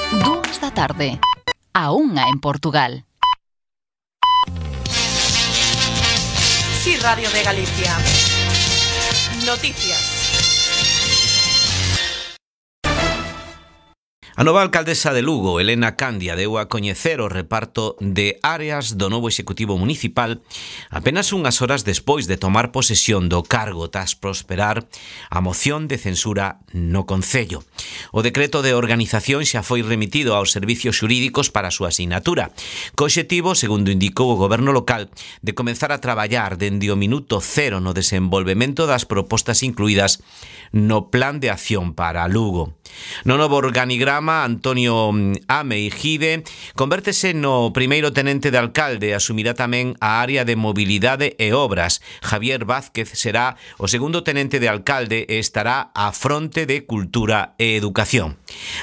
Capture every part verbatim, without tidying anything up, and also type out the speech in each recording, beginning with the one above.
Dúas da tarde. A unha en Portugal. Sí, Radio de Galicia. Noticias. A nova alcaldesa de Lugo, Elena Candia, deu a coñecer o reparto de áreas do novo Executivo Municipal apenas unhas horas despois de tomar posesión do cargo tras prosperar a moción de censura no Concello. O decreto de organización xa foi remitido aos servicios xurídicos para a súa asignatura, co obxectivo, segundo indicou o goberno local, de comenzar a traballar dende o minuto cero no desenvolvemento das propostas incluídas no Plan de Acción para Lugo. No novo organigrama, Antonio Amei Gide convértese no primeiro tenente de alcalde e asumirá tamén a área de mobilidade e obras. Javier Vázquez será o segundo tenente de alcalde e estará á fronte de cultura e educación.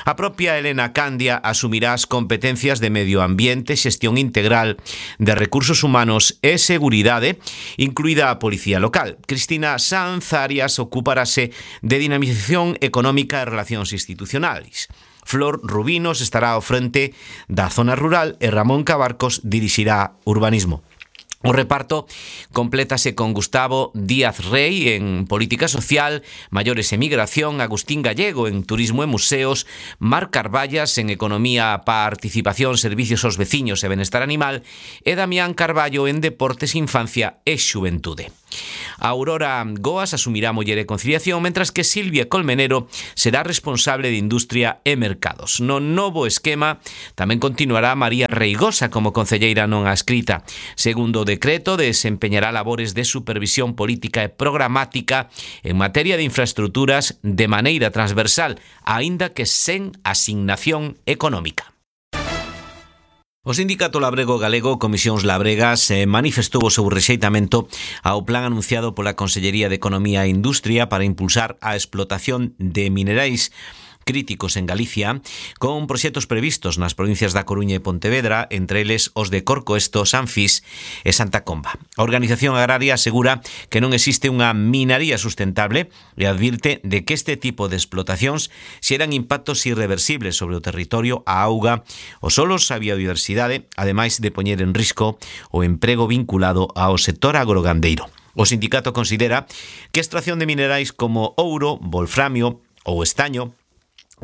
A propia Elena Candia asumirá as competencias de medio ambiente, xestión integral de recursos humanos e seguridade, incluída a policía local. Cristina Sanz Arias ocuparase de dinamización económica e relacións institucionais. Flor Rubinos estará ao frente da zona rural e Ramón Cabarcos dirixirá urbanismo. O reparto complétase con Gustavo Díaz Rey en Política Social, Maiores e Migración, Agustín Gallego en Turismo e Museos, Mar Carballas en Economía, Participación, Servicios aos Veciños e Benestar Animal e Damián Carballo en Deportes, Infancia e Xuventude. Aurora Goas asumirá Muller e Conciliación, mentras que Silvia Colmenero será responsable de Industria e Mercados. No novo esquema tamén continuará María Reigosa como concelleira non adscrita. Segundo o decreto, desempeñará labores de supervisión política e programática en materia de infraestructuras de maneira transversal, aínda que sen asignación económica. O Sindicato Labrego Galego Comisións Labregas manifestou o seu rexeitamento ao plan anunciado pola Consellería de Economía e Industria para impulsar a explotación de minerais críticos en Galicia, con proxectos previstos nas provincias da Coruña e Pontevedra, entre eles os de Corcoesto, Sanfís e Santa Comba. A Organización Agraria asegura que non existe unha minaría sustentable e advirte de que este tipo de explotacións xeran impactos irreversibles sobre o territorio, a auga, os solos, a biodiversidade, ademais de poñer en risco o emprego vinculado ao sector agrogandeiro. O sindicato considera que a extracción de minerais como ouro, wolframio ou estaño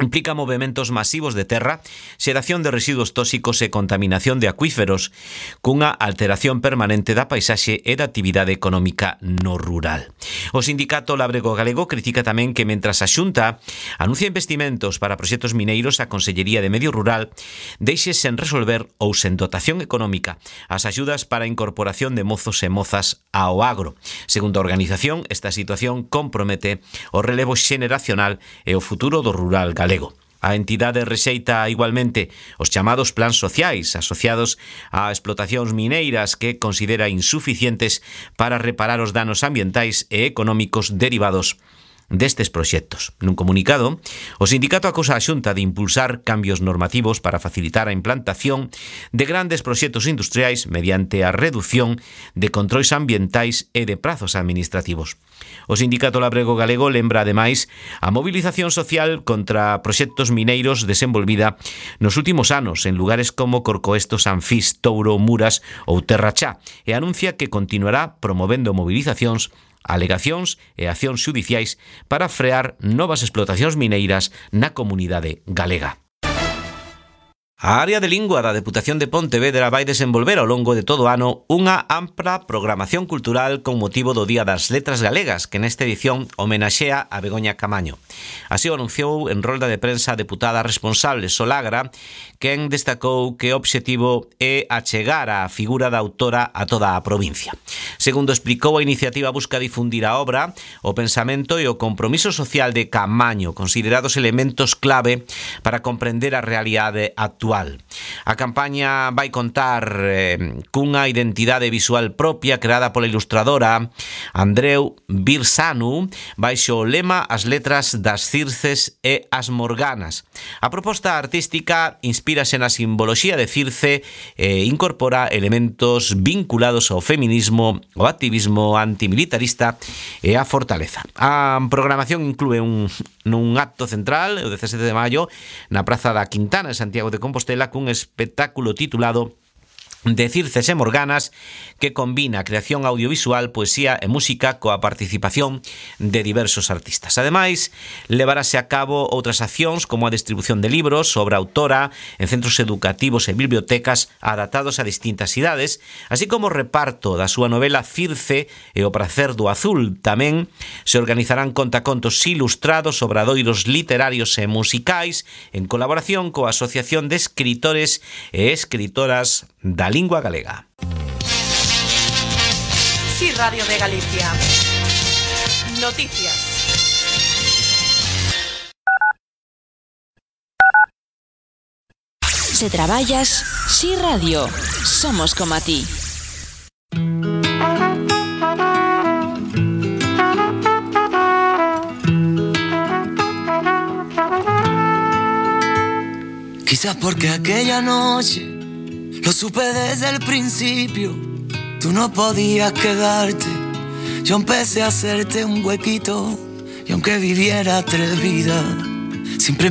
implica movementos masivos de terra, xeración de residuos tóxicos e contaminación de acuíferos, cunha alteración permanente da paisaxe e da actividade económica no rural. O Sindicato Labrego Galego critica tamén que mentras a Xunta anuncia investimentos para proxectos mineiros, a Consellería de Medio Rural deixe sen resolver ou sen dotación económica as axudas para a incorporación de mozos e mozas ao agro. Segundo a organización, esta situación compromete o relevo xeneracional e o futuro do rural galego. A entidade rexeita igualmente os chamados plans sociais asociados a explotacións mineiras que considera insuficientes para reparar os danos ambientais e económicos derivados destes proxectos. Nun comunicado, o sindicato acusa a Xunta de impulsar cambios normativos para facilitar a implantación de grandes proxectos industriais mediante a reducción de controis ambientais e de prazos administrativos. O Sindicato Labrego Galego lembra, ademais, a movilización social contra proxectos mineiros desenvolvida nos últimos anos en lugares como Corcoesto, Sanfís, Touro, Muras ou Terrachá e anuncia que continuará promovendo movilizacións, alegacións e accións xudiciais para frear novas explotacións mineiras na comunidade galega. A área de lingua da Deputación de Pontevedra vai desenvolver ao longo de todo o ano unha ampla programación cultural con motivo do Día das Letras Galegas, que nesta edición homenaxea a Begoña Camaño. Así o anunciou en rolda de prensa a deputada responsable Solagra, quen destacou que o obxectivo é achegar a figura da autora a toda a provincia. Segundo explicou, a iniciativa busca difundir a obra, o pensamento e o compromiso social de Camaño, considerados elementos clave para comprender a realidade actual audiovisual. A campaña vai contar eh, cunha identidade visual propia creada pola ilustradora Andreu Birsanu baixo o lema As letras das Circes e as Morganas. A proposta artística inspírase na simboloxía de Circe e incorpora elementos vinculados ao feminismo, ao activismo antimilitarista e á fortaleza. A programación inclúe un, nun acto central, o dezasete de maio, na Praza da Quintana, en Santiago de Compostela, cun espectáculo titulado de Circes e Morganas, que combina creación audiovisual, poesía e música coa participación de diversos artistas. Ademais, levarase a cabo outras accións como a distribución de libros, obra autora, en centros educativos e bibliotecas adaptados a distintas idades, así como o reparto da súa novela Circe e o pracer do azul. Tamén se organizarán contacontos ilustrados, obradoiros literarios e musicais, en colaboración coa Asociación de Escritores e Escritoras da Lingua Galega. Sí, Radio de Galicia. Noticias. Se traballas, Sí Radio. Somos como a ti. Quizás porque aquella noche lo supe desde el principio, tú no podías quedarte. Yo empecé a hacerte un huequito y aunque viviera tres vidas, siempre me